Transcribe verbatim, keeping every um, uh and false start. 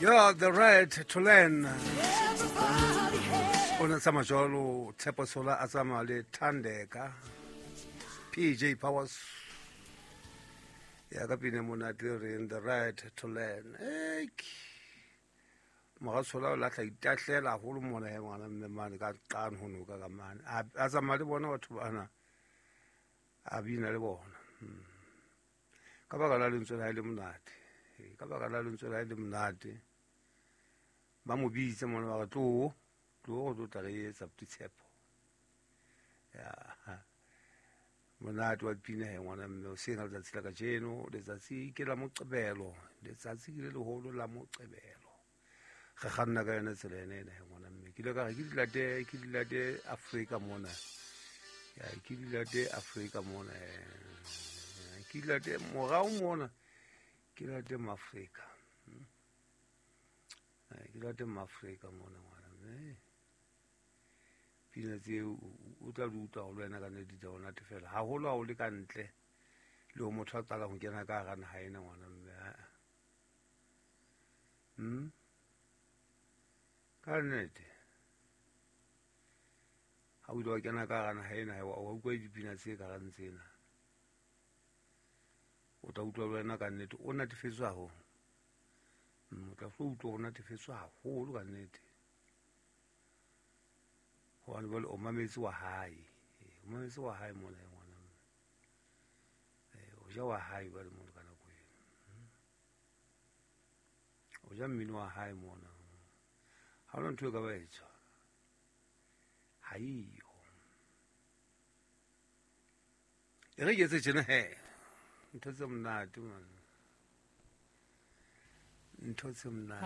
Yeah, the right to learn. O ne tsamaya jwalo Tshepo Tshola a tsamaya le Thandeka P J Powers. Ya ka pina monate re in the right to learn. Ek. Moratshola o lahla itahlela haholo mona he ngwana mme mane ka qane ho noka ka mane. A a tsamaya le bona batho bana. A bina le bona. Ka baka la lentswe la hae le monate. Ka baka la lentswe la hae le monate. Ba mo bitse mona ba re tlo tlo go tla re etsa Tshepo. Ya. Monate wa pina he ngwana mme o sena letsatsi la kajeno, letsatsi ke la Moqebelo, letsatsi ke le leholo la Moqebelo. Re kganna ka yona tsela ena ena he ngwana mme. Ke ile ka re ke dilate, ke dilate Afrika mona. Ya, ke dilate Afrika mona. Ke dilate morao mona. Ke dilate Afrika. Ke dilate Afrika mona ngwana mme. Pina tseo o tla di utlwa ho le wena ka nnete di tla o natefela haholo ha o le ka ntle le ho motho a qalang ho kena ka hara naha ena ngwana mme. Hmm? Ka nnete ha o ile wa kena ka hara naha ena wa utlwa dipina tse ka rang tsena, o tla utlwa le wena ka nnete o natefetswe haholo. O tla hlo utlwa o natefetswe haholo ka nnete. Hobane jwale o mametse wa hae, o mametse wa hae mona ngwana mme. O ja wa hae jwale mona ka nako eno. O ja mmino wa hae mona. Ha hona ntho e ka ba etswa. Ha eyo. E re ke etse tjena he. Ntho tse monate man. Ntho tse monate.